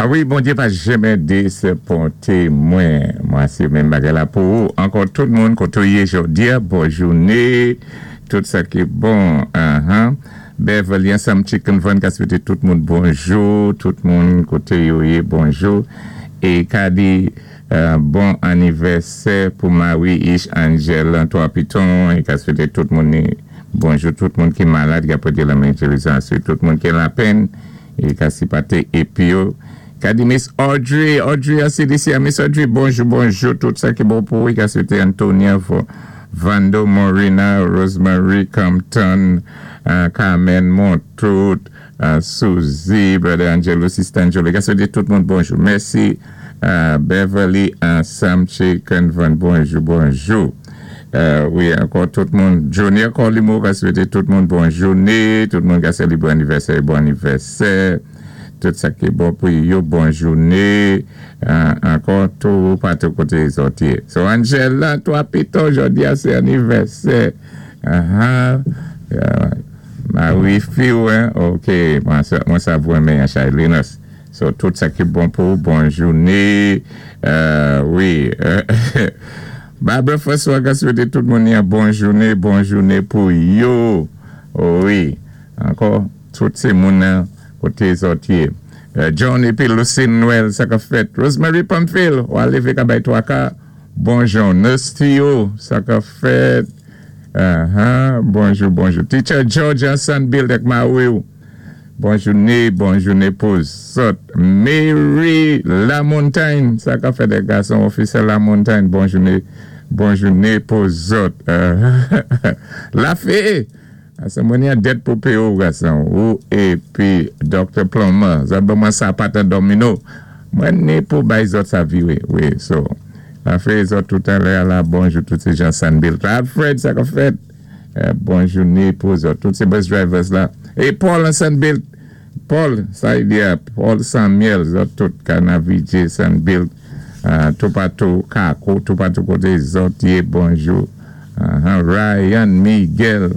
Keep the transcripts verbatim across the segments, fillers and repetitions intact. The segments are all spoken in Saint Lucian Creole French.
A wi, Bondyé pa janmen dézaponté mwen. Mwen, sé menm bagay la pou ou. Ankò tout moun, koté ou yé jòdi-a, bon jouné, tout sa ki bon. Uh-huh. Beverly ansanm Chicken Van ka swété tout moun bonjou, tout moun koté yo yé bonjou. É ka di euh, bon anivèsè pou Marie Ish Angel Antoine Piton é ka swété tout moun bonjou, tout moun ki malad, ki ap la men tout moun ki lapenn é ka sipòté épi yo. Ka di Miss Audrey, Audrey a C D C, Miss Audrey, bonjou, bonjou, tout sa ki bon pou ou, ka swété Antonia, Vando Morina, Rosemary Compton, uh, Carmen Montout, uh, Suzy, Brother Angelo, Sister Angelo, ka swété tout moun bonjou. Mèsi, uh, Beverly ansanm Chicken Van, bonjou, bonjou. Uh, wi, ankò tout moun, Johnny Colimo, ka swété tout moun bon jouné, tout moun ka sélébré anivèsè, bon anivèsè. Tout sa ki bon pou yo, bon jouné, ankò tout patou koté zòt yé. So Angela, twa pito, jòdi a sé anivèsè. Uh-huh. Marie Fiw, ok, mwen sa vou men chay Linus. So tout sa ki bon pou, bon jouné, wi. Barbara François ka swété tout moun ya bon jouné, bon jouné pou yo. Wi, ankò, tout sé moun nan koté zòt yé. John épi Lucine Noël, sa ka fèt. Rosemary Pamphile, ou lévé ka bay twa ka. Bonjou. Nurse Theo, sa ka fèt. Uh-huh. Bonjou, bonjou. Teacher George Hassan Bill dek Mawiw. Bon jouné, bon jouné pou zòt. Mary La Montagne, sa ka fèt dé gason officer La Montagne. Bon jouné, bon jouné pou zòt. La Fé. Asa mwen yon det pou pe ou gason. Ou épi Doctor Plummer. Zòt ban mwen sapat an domino. Mwen ni pou bay zòt sa viwé. Wi, so. La fé zòt tout an lè la bonjou tout sé jan Sanbil. Alfred, sa ka fèt. Bon jouné pou zòt. Tout sé bus drivers la. E Paul an Sanbil. Paul, sa y di a. Paul Samuel. Zòt tout Kanavije Sanbil. Tout patou Kako. Tout patou koté zòt yé bonjou. Ryan Miguel.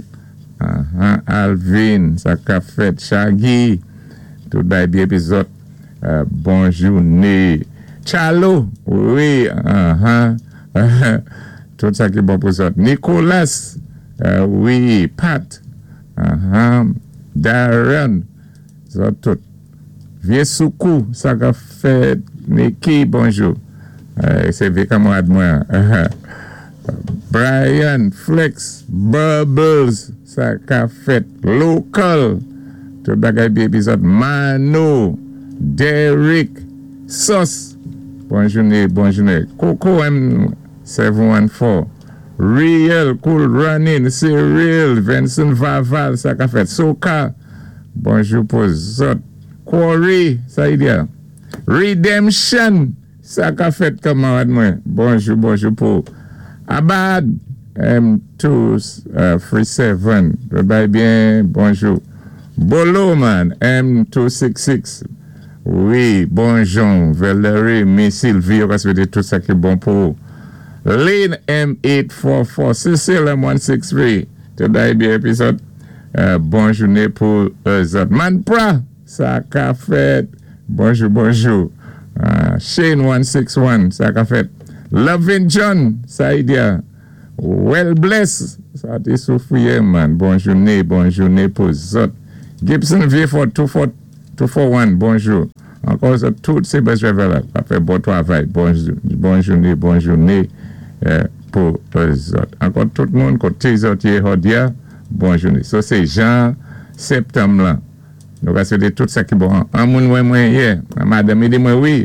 Alvin, sa ka fèt, Shaggy, tout bay bi épi zòt, bon jouné. Chalo, wi, tout sa ki bon pou zòt. Nicolas, wi, Pat, Darren, zòt tout. Vie Soukou, sa ka fèt, Niki, bonjou. Se vie kamarad mwen. Brian, Flex, Bubbles, sa ka fèt, Local, tout bagay bi épi zòt, Mano, Derek, Sos, bon jouné, bon jouné, Coco M seven one four, Real, Cool Running, Cyril, Vincent Vaval, sa ka fèt, Soka, bonjou pou zòt, Corey, sa y di a, Redemption, sa ka fèt kamarad mwen, bonjou, bonjou pou Abad, M two three seven, bay byen, bonjou. Bolo man, M two six six, wi, bonjou. Valerie, Miss Sylvie, yo ka swété tout sa ki bon pou. Lynn M eight four four, Cecile M one six three, tout bay byen épi zòt, bon jouné pou zòt. Manpra, sa ka fèt, bonjou, bonjou. Shane one six one, sa ka fèt. Lovin John, sa y di a. Well bless, sa té soufwiye man. Bon jouné, bon jouné pou zòt. Gibson V four two four one, bonjou. Ankò zòt tout sé bus driver la. Ap fè bon twavay. Bon jouné, bon jouné pou zòt. Ankò tout moun koté zòt yé jòdi a, bon jouné. So sé jan septanm lan. Nou ka swété tout sa ki bon. An moun mwen mwen yé, madanm di mwen wi.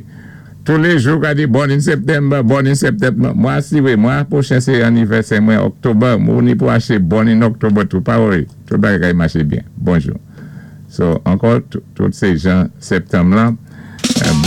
Tous les jours, ka di born in September, born in September. Mwa si wé, mwa pwochen sé anivèsè mwen October, mwen ni pou aché born in October tou, pa wé. Tout bagay maché byen. Bonjou. So, ankò, tout sé jan septanm lan.